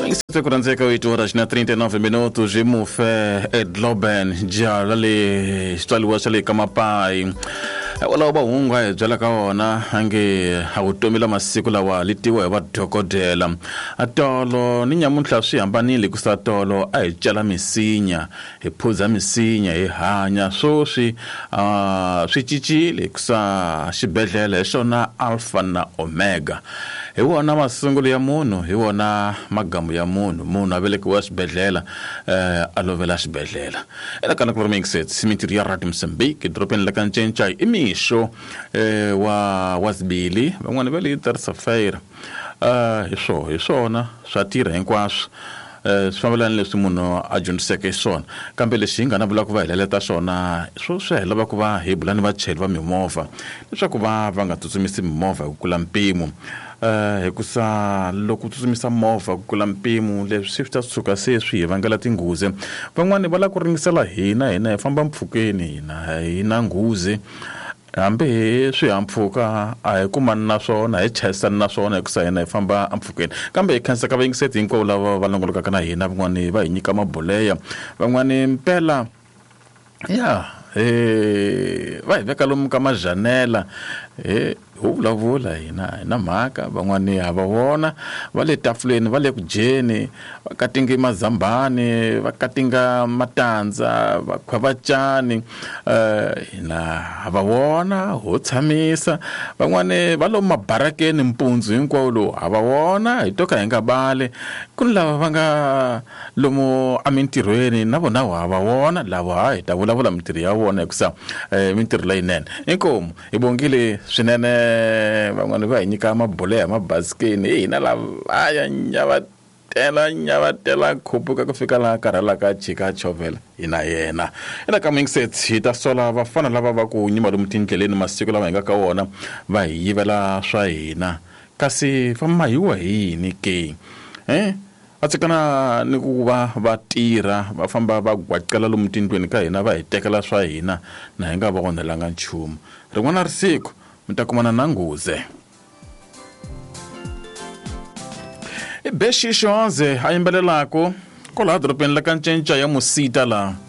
Ku rhandzeka 8 horas na 39 minutos hi mufe edloben jala le xitswaliwa xa le ka mapayi walawo va hungu a hi byela ka wona ange a vutomi la masiku lawa li tiwa hi vadokodela tolo ni nyamuntlha swi hambanile hikusa tolo a hi cela misinya hi phuza misinya hi hanya swoswi swi cincile hikusa xibedhlele hi xona alpha na omega hi wona masungulo ya munhu hi wona magamu ya munhu munhu a velekiwa xibedhlele a lovela xibedhlele ela kana ku ri mintirho ya radio Mozambique edorobeni la ka Ncencai i mixo wa zibili van'wani va le terça-feira hi swo hi swona swa tirha hinkwaswo swi fambelana leswi munhu a dyondziseke xiswona kambe lexi hi nga na vula ku va hi leleta xona swo swi hi lava ku va hi bula ni vachayeri va mimovha leswaku va va nga tsutsumisi mimovha hi ku kula mpimo hikusa loko u tsutsumisa movha ku kula mpimo leswi swi ta suka se swi hi vangela tinghozi van'wani va lava ku ringisela hina hina hi famba mpfhukeni hina hi na nghozi hambi hi swihahampfhuka a hi kumani na swona hi chayisani na swona hikusa hina hi famba empfhukeni kambe hi khensa ka vayingiseti hinkwavo lava va longolokaka na hina van'wani va hi nyika mabuleya van'wani mpela ya va hi veka lomu ka majanela he ho vulavula hina hi na mhaka van'wani ha va vona va le tafuleni va le ku dyeni va katinga mazambhani va katinga matandza va khwavacani hina ha va vona ho tshamisa van'wani va lomu mabarakeni mpundzu hinkwawo lowu ha va vona hi to ka hi nga bali ku ni lava va nga lomu emintirhweni na vona ha va vona lava ha hi ta vulavula mintirho ya vona hikusa mintirho leyinene inkomu hi bongile swinene van'wani va hi nyika mabuleya mabasikeni hi hina lavaya nyavatela nyavatela khupuka ku fika laha karhalaka chika chovela hi na yena ela ka mingisets hi ta sola vafana lava va ku nyima lomu tindleleni masiku lama hi nga ka wona va hi yivela swa hina kasi va mahiwa hi yini ke va tsekana ni ku va va tirha va famba va gwaqela lomu tindlwini ka hina va hi tekela swa hina na hi nga va onhelanga nchumu rin'wana risiku mi ta kumana na nghuze i Bexi Xonze a yimbelelaka kwalaha dorobeni la ka Ncenca ya Musita laha.